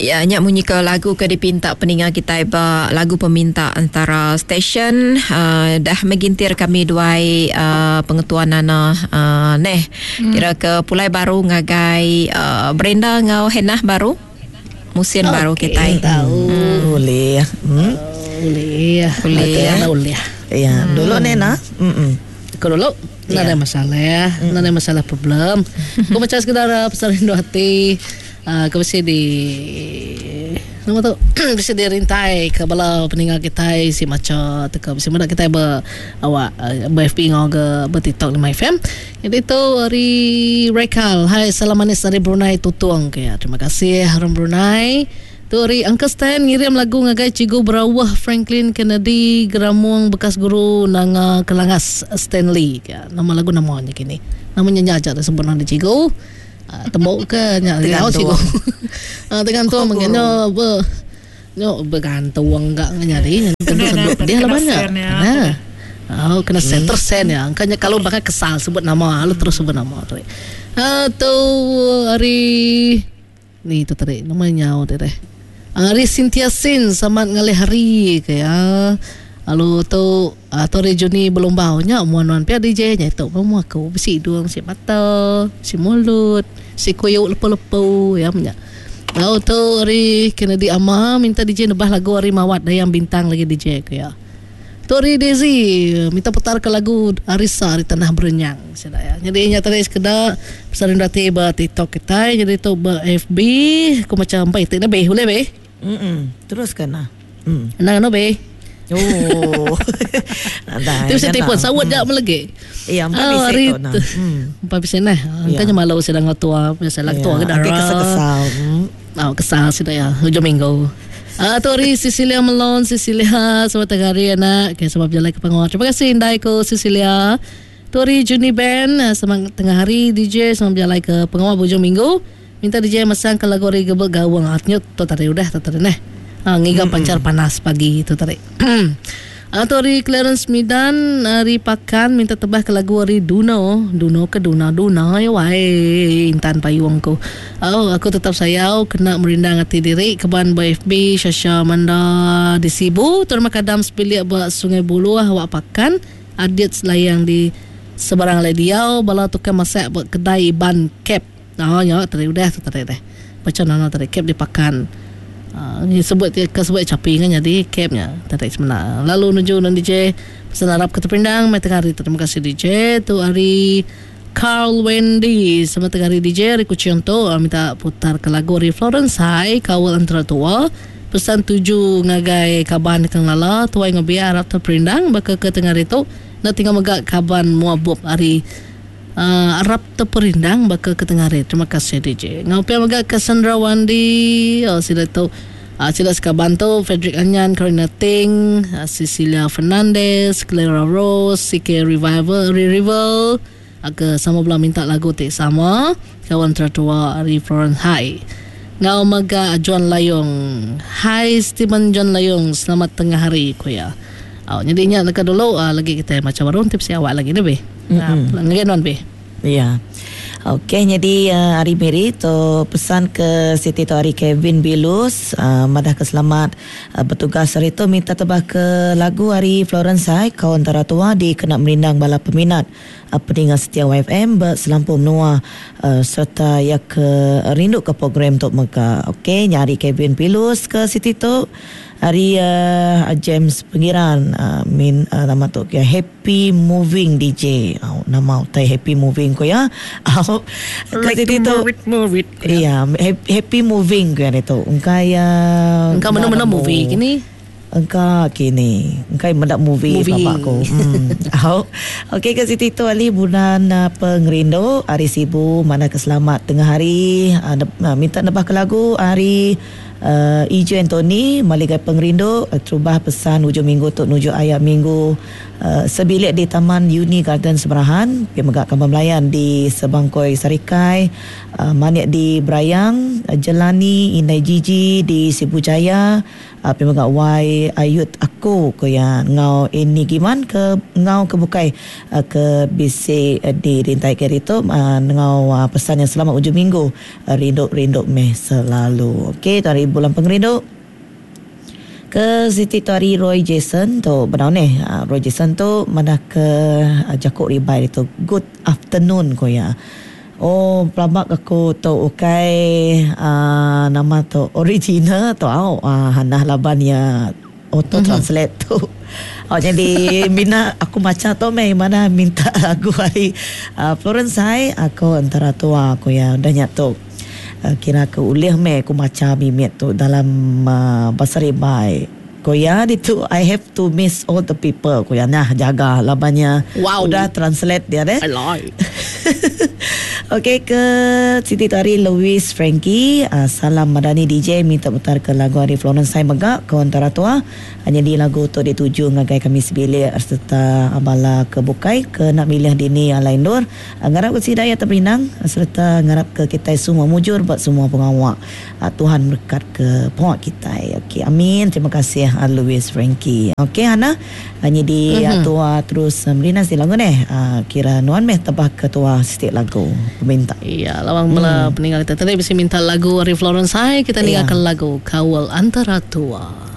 Ya nya munyi ke lagu ke dipinta peninga kitai ba lagu peminta antara stesen uh, dah megintir kami duai uh, pengetua Nana uh, neh hmm. kira ke pulai baru ngagai uh, Brenda enggau Hannah baru musin okay. baru kitai. Tahu. Hmm. Boleh. Hmm. Boleh. Boleh. Boleh. Ya, hmm. dulu Nena. Hmm. Kau dulu. Yeah. Nadai masalah, mm. nadai masalah problem. Aku macam sekedar pasal rindu hati. Uh, aku mesti di nama tu mesti dirintai ke bala peninga kitai si macha teka mesti meda kitai be awak uh, be FB ngau ke be TikTok 5 FM. Jadi tu hari Rekal. Hai salam manis dari Brunei Tutung ke ya. Terima kasih orang Brunei. Tu ari Uncle Stan ngirim lagu ngagai Cikgu Berawah Franklin Kennedy Geramung bekas guru Nanga Kelangas Stanley. Nama lagu nama nya kini. Nama nya nya aja disebut nama cikgu. Uh, tembok ke nya Tergantung. cikgu. Uh, tergantung oh, mungkin be nyo bergantung enggak nyari tentu sebut dia lah banyak. Nah. Oh, kena sen tersen ya. Angkanya kalau bakal kesal sebut nama, lalu terus sebut nama tu. Ah tu hari Ni tu tadi nama nyau tu deh. Ari Cynthia Sin selamat ngalih hari ke ya. Lalu tu atau ari Juni Belumbau nya mua nuan pia DJ nya itu pun mua aku bisi hidung bisi mata bisi mulut bisi kuyuk lepu-lepu ya nya. Lalu tu ari Kennedy Ama minta DJ nebah lagu ari Mawat Dayang Bintang lagi DJ ke ya. Tu ari Daisy minta putar ke lagu Arisa ari Tanah Berenyang sida ya. Jadi nya tadi sekeda pasal rindu ati ba TikTok kitai jadi tu ba FB ku macam empai iti ne beh ulih beh. Mm teruskan lah. Mm. Endang anu beh. Oh. Nadai. Tu mesti telefon sawut jak melegi. Iya, empai Oh, bisi hari tu nah. tu. Mm. Empai bisi nah. Engka Iya. nya malu sida enggau tua, biasa lah Iya, tua ke agi dara. kesal-kesal. Mm. Oh, kesal sida ya hujung minggu. Ah, tu hari Cecilia Melon, Cecilia selamat tengah hari anak. Okay, selamat berjalan ke panggung. Terima kasih indai ku Cecilia. Tu hari Juni Band, ah, selamat tengah hari DJ selamat berjalan ke pengawal hujung minggu. Minta DJ masang ke lagu hari gebek gawang. Ah, tu tadi udah tu tadi neh. Ah, ngiga pancar panas pagi tu tadi. Atau hari Clarence Midan hari Pakan minta tebah ke lagu hari Duno Duno ke Duna Duna ya wai Intan Payung ku. Oh aku tetap sayau kena merindang ati diri keban ba FB Shasha Manda di Sibu terima kadam sebilik ba Sungai Buluh awak Pakan Adit Selayang di Sebarang alai diau bala tukang masak ba kedai Iban Cap. Oh nya tadi udah tu tadi deh. Baca nana tadi cap di Pakan. Uh, sebut ke sebut capi kan jadi cap nya tadi sebenar. Lalu nuju nan DJ pesan harap ke terpindang mai tengah hari. Terima kasih DJ tu hari Carl Wendy sama tengah hari DJ hari Kuching tu uh, minta putar ke lagu hari Florence Hai kawal antara tua pesan tuju ngagai kaban kang lala tuai ngobi harap terperindang baka ke tengah hari tu nak tinggal mega kaban muabub hari uh, Arab terperindang baka ke tengah hari. Terima kasih DJ. Ngau pia mega Cassandra Wandi, oh, sila tu uh, sila sekaban tu Frederick Anyan, Karina Ting, uh, Cecilia Fernandez, Clara Rose, CK Revival, Revival. Uh, ke sama belah minta lagu tik sama kawan tertua Ari Florence Hai. Ngau mega John Layong. Hai Stephen John Layong, selamat tengah hari kuya. Oh, jadi nya dekat dulu uh, lagi kita macam baru tips awak lagi ni be. Nah, mm-hmm. non be. Ya. Okey, jadi uh, hari Mary tu pesan ke Siti tu hari Kevin Bilus uh, madah ke selamat uh, bertugas hari tu minta tebah ke lagu hari Florence Hai kau antara tua di kena merindang bala peminat uh, peningan setia YFM berselampur menua uh, serta ya ke rindu ke program tu mega. Okey, nyari Kevin Bilus ke Siti tu hari uh, James Pengiran uh, min uh, nama tu ya Happy Moving DJ. Oh, nama utai Happy Moving ko ya. Oh, Like kasi to dito move it, move it. Iya, happy moving ko yan ito. Engkay uh, Engkau mana-mana movie kini. Engkau kini. Engkau mendak movie, Movie. bapak ko. Hmm. Oh. Okey ke Siti tu Ali bulan uh, pengerindu hari Sibu mana keselamat tengah hari uh, uh, minta nebah ke lagu hari uh, Ijo Anthony Maligai Pengerindu uh, terubah pesan hujung minggu tu nuju ayat minggu uh, sebilik di Taman Uni Garden Semerahan pergi megak Kampung Melayan di Sebangkoi Sarikai uh, Manik di Berayang uh, Jelani Indai Gigi di Sibu Jaya uh, pergi megak Y Ayut aku ke yang ngau ini giman ke ngau ke bukai uh, ke BC uh, di Rintai Keri tu uh, ngau uh, pesan yang selamat hujung minggu uh, rindu-rindu meh selalu. Okey, tuan hari bulan pengerindu. Ke siti tu hari Roy Jason tu bedau neh. Roy Jason tu madah ke jaku ribai ditu good afternoon ku iya. Oh pelaba ke aku tu ukai aaa nama tu original tu au hanah laban iya auto translate tu. Au nyadi mina aku macha tu meh madah minta lagu ari Florence Hai aku entara tua ku iya udah nya tu. Kira ke ulih meh aku macha mimit tu dalam bahasa ribai. Ku iya ditu I have to miss all the people ku iya nah jaga laban iya Wow. udah translate dia deh. I like. Okey ke siti tu hari Louis Frankie uh, salam Madani DJ minta putar ke lagu ari Florence Sai mega ke antara tua nyadi lagu tu dituju ngagai kami sebilik sereta bala ke bukai ke nak milih dini alai endur ngarap ke sida iya teperindang sereta ngarap ke kitai semua mujur ba semua pengawa. Tuhan merekat ke pengawa kitai. Okey amin terima kasih Louis Frankie. Okey Hana nyidi mm-hmm. tua terus merina si lagu neh. Kira nuan meh tebah ke tua siti lagu peminta. Iya lawang bala peninggal kita tadi bisi minta lagu ari Florence Hai kita ninggalkan yeah. lagu Kawal Antara Tua.